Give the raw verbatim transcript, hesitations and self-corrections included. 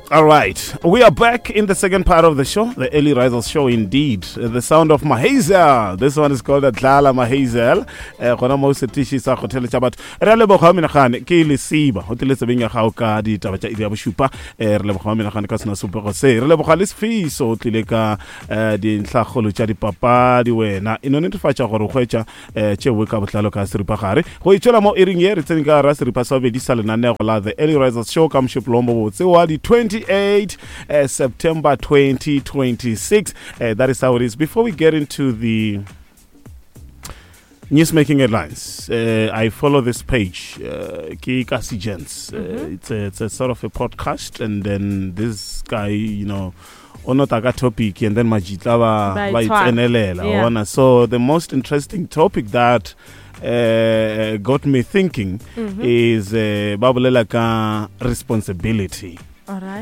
All right, we are back in the second part of the show, the Early Risers Show indeed. The sound of Mahazel. This one is called Dlala Mahazel. Eh, gona mo setiši sa go theletša batho. Re a leboga menagane ke lesiba go tlile tsebeng ya gago ka ditaba tša iri ya bošupa. Eh, re leboga menagane ka sena sepego se. Re leboga le Sefiso o tlile ka eh, dintlhakgolo tša dipapadi wena. E no netefatša gore o hwetša eh, tšeo ka botlalo ka seripagare. Go itšwela mo iring ye re tsene ka gara seripa sa bobedi sa lenanego la The Early Risers Show ka mošupologo botse wa di twenty-eight uh, September twenty twenty-six. Uh, that is how it is. Before we get into the news-making headlines, uh, I follow this page, uh, ke Kasi Gents. Uh, Mhm. it's, a, it's a sort of a podcast, and then this guy, you know, o nota ka topic and then majitla ba Ba ba e tshwara. Itsenelela Yeah. wa bona. So the most interesting topic that uh, got me thinking Mhm. is uh, ba bolela ka responsibility. All right.